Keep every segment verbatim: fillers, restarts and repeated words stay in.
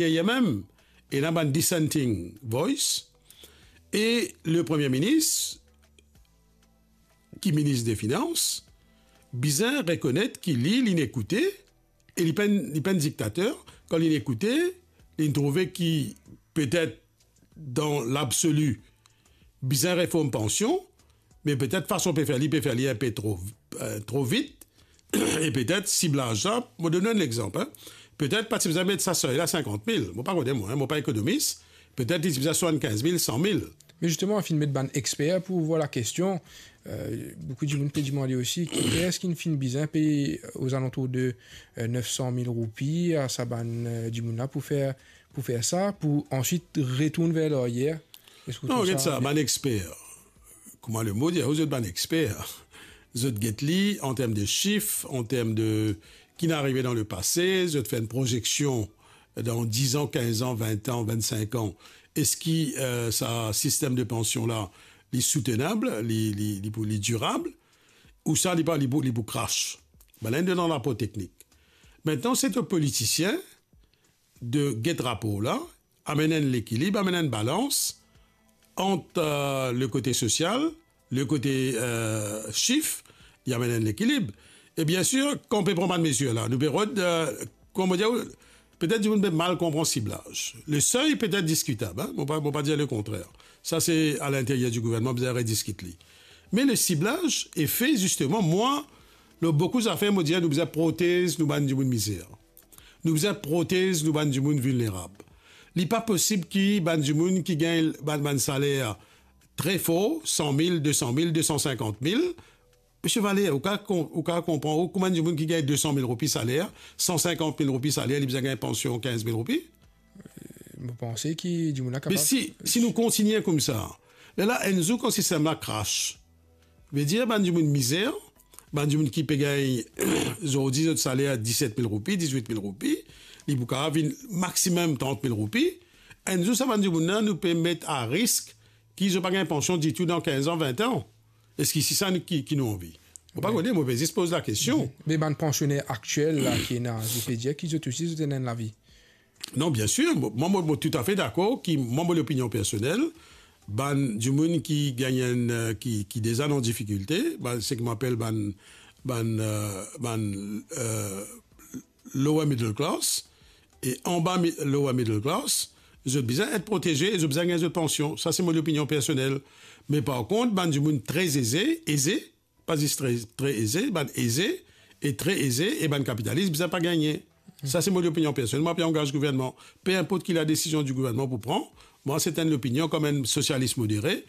deryer mem, ena bann dissenting voice, e le Premie Minis, ki minis de finans, bizin rekonet ki li, linn ekoute, e li pa enn, li pa enn diktater, kan linn ekoute, linn trouve ki petet dan labsoli, bizin reform pansion, me petet fason pe fer li, pe fer li inpe tro, eh, tro vit, e petet siblaz la, mo donn enn lexanp, hein. Petet pa ti bizin met sa sey la sinkant mil, mo pa kone mwa, hein, mo pa ekonomis, petet li ti bizin swasannkinz mil, san mil. Me zisteman, finn met bann exper pou vwar lakestion. Eh, boukou dimoun pe dimande osi, kifer eski finn bizin pey ozalantour de, eh, nef san mil roupi a sa bann, eh, dimoun la pou fer, pou fer sa, pou answit retourn ver laryer? Eski ou trouv sa... Non, get sa, bann exper, kouma lemo dir, zot bann exper, zot get li an term de sif, an term de ki finn arive dan lepase, zot fer enn prozeksion dan diz an, kinz an, vin an, vinn-sink an, eski, eh, sa sistem de pansion la, li soutenab, li, li, li pou, li dirab, ou sa li pa, li pou, li pou krash? Bann la inn donn rapor teknik. Aster se to politisien de get rapor la, amenn enn lekilib, amenn enn balans ant, eh, le kote sosial, le kote, eh, sif, li amenn enn lekilib. E biensir, kan ou pe pran bann mezir la, nou pe rod, eh, kouma dir, petet dimoun pe mal konpran siblaz. Le sey petet diskitab, hein, mo pa, mo pa dir lekontrer. Sa se a linteryer di gouvernman, bizin rediskit li. Me le siblaz e fe zisteman, mwa, lor boukou zafer, mo dir, nou bizin protez nou bann dimoun mizer. Nou bizin protez nou bann dimoun vilnerab. Li pa posib ki bann dimoun ki gagn bann, bann saler tre for, san mil, de san mil, de san sinkant mil. Misie Valère, ou kav kon-, ou kav konpran, ou, kouma enn dimoun ki gagn de san mil roupi saler, san sinkant mil roupi saler, li bizin gagn pansion kinz mil roupi? Mo panse ki dimoun la kapav... Me si, si nou kontinie koumsa, lerla enn zour kan sistem la krash, vedir bann dimoun mizer, bann dimoun ki pe gagn zordi zot saler diset mil roupi, dizwit mil roupi, li pou kapav vinn maximum trant mil roupi, enn zour sa bann dimoun la, nou pe met a risk ki zot pa gagn pansion ditou dan kinz an, vin an. Eski se sa nou, ki, ki nou anvi? Mo pa kone, mo pe zis poz lakestion. Me bann pansiner aktiel la ki ena, zot pe dir ki zot osi, zot ena enn lavi. Non, biensir, mo, mwa, mo, mo toutafe dakor ki, mwa, mo lopinion personel, bann dimoun ki gagn enn, eh, ki, ki deza dan difikilte, bann, seki mo apel bann, bann, eh, bann, eh, lower middle class, e anba mi-, lower middle class, zot bizin et proteze e zot bizin gagn zot pansion. Sa se mo lopinion personel. Me par kont, bann dimoun tre eze, eze, pa zis tre, tre eze, bann eze e tre eze e bann kapitalis bizin pa gagne. Sa se mo lopinion personel. Mwa, pa angaz gouvernman. Pe inport ki ladesizion di gouvernman pou pran, mwa, se enn lopinion kouma enn sosialis modere.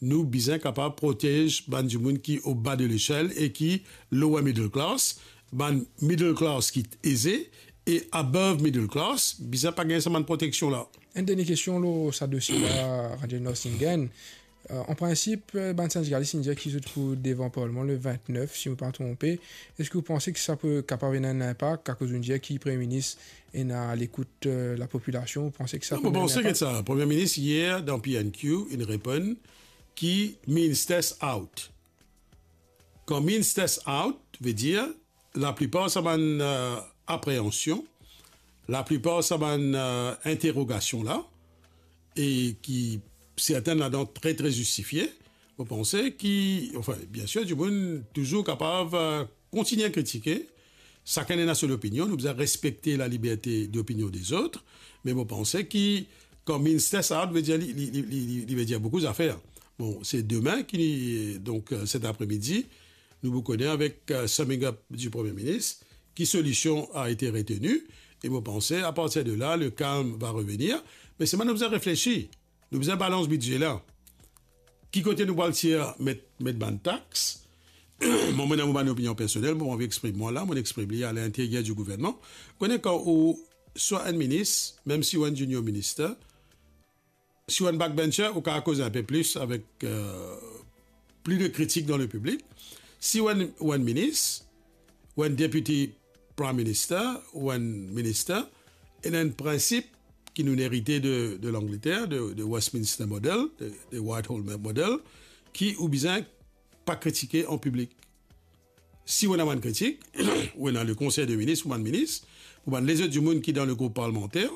Nou bizin kapav protez bann dimoun ki o ba de lesel e ki lower middle class, bann middle class ki eze e above middle class, bizin pa gagn sa bann proteksion la. Enn dernie kestion lor sa dosie la, Radiel Nordstingen. Eh, an prinsip, eh, bann sindikalis inn dir ki zot pou devan parlman le vintnef, si mo pa tronpe. Eski ou panse ki sa pou kapav ena enn inpak, akoz ou dir ki Premie Minis ena a lekout, eh, lapopilasion? Ou panse ki sa... Non, pou ena enn inpak? Mo panse ki sa, Premie Minis yer dan P N Q, inn reponn ki means test out. Kan means test out, vedir, laplipar sa bann, eh, apreansion, laplipar sa bann, eh, interogasion la, e ki sertin ladan tre, tre zistifie, mo panse ki, anfin, biensir, dimoun touzour kapav, eh, kontinie kritike, sakenn ena so lopinion, nou bizin respekte laliberte dopinion dezot, me mo panse ki, kan means test out, vedir li, li, li, li, li, li vedir boukou zafer. Bon, se demin ki, donk, eh, set apremidi, nou pou kone avek, eh, summing up di Premie Minis, ki solision a ete reteni, e mo panse, a partir de la, le calme va revenir. Me selman nou bizin reflesi, nou bizin balans bidze la. Ki kote nou pou al tir met, met bann tax? Mwa, mo ena mo bann opinion personel, mo anvi exprim mwa la, mo exprim li a linteryer di gouvernman. Kone kan ou swa enn minis, mem si ou enn junior minister, si ou enn backbencher, ou kav koz inpe plis avek, eh, plis de kritik dan lepiblik. Si ou enn, ou enn minis, ou enn deputy prime minister, ou enn minister, ena enn prinsip ki nou erite de, de Langleter, de, de Westminster Model, de, de Whitehall Model, ki ou bizin pa kritike an piblik. Si ou ena bann kritik, ou ena le konsey de minis, ou bann minis, ou bann lezot dimoun ki dan le group parlmanter,